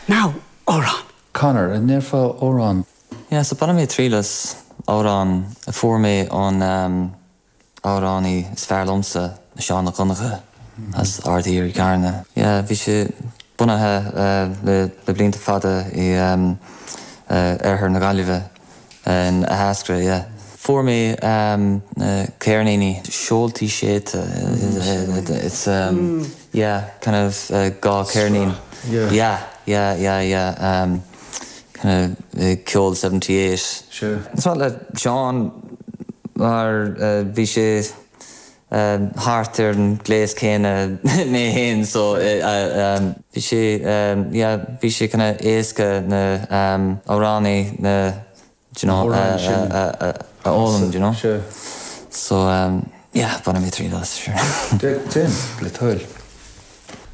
Now, amhrán. Conor, an ndéarfá amhrán? Yeah, so bainfidh mé triail as amhrán a fuair mé ón amhránaí is fearr liomsa, Seán Mac Donncha as Aird Thiar i gCarna. Yeah, bhí sé bunaithe le blianta fada i oirthear na Gaillimhe, in Ahascragh, yeah. Fuair mé na ceirníní, Seoltaí Séidte, it's yeah, kind of dhá cheirnín. Yeah, yeah, yeah, yeah. Kind of ceol 78. Sure. Is maith le Seán mar bhí sé thart ar an ngléas céanna mé féin so bhí sé yeah bhí sé kind of éasca na amhránaí na do you know a fhoghlaim do you know. Sure. So yeah bainfidh mé triail as sure. Déan, le do thoil.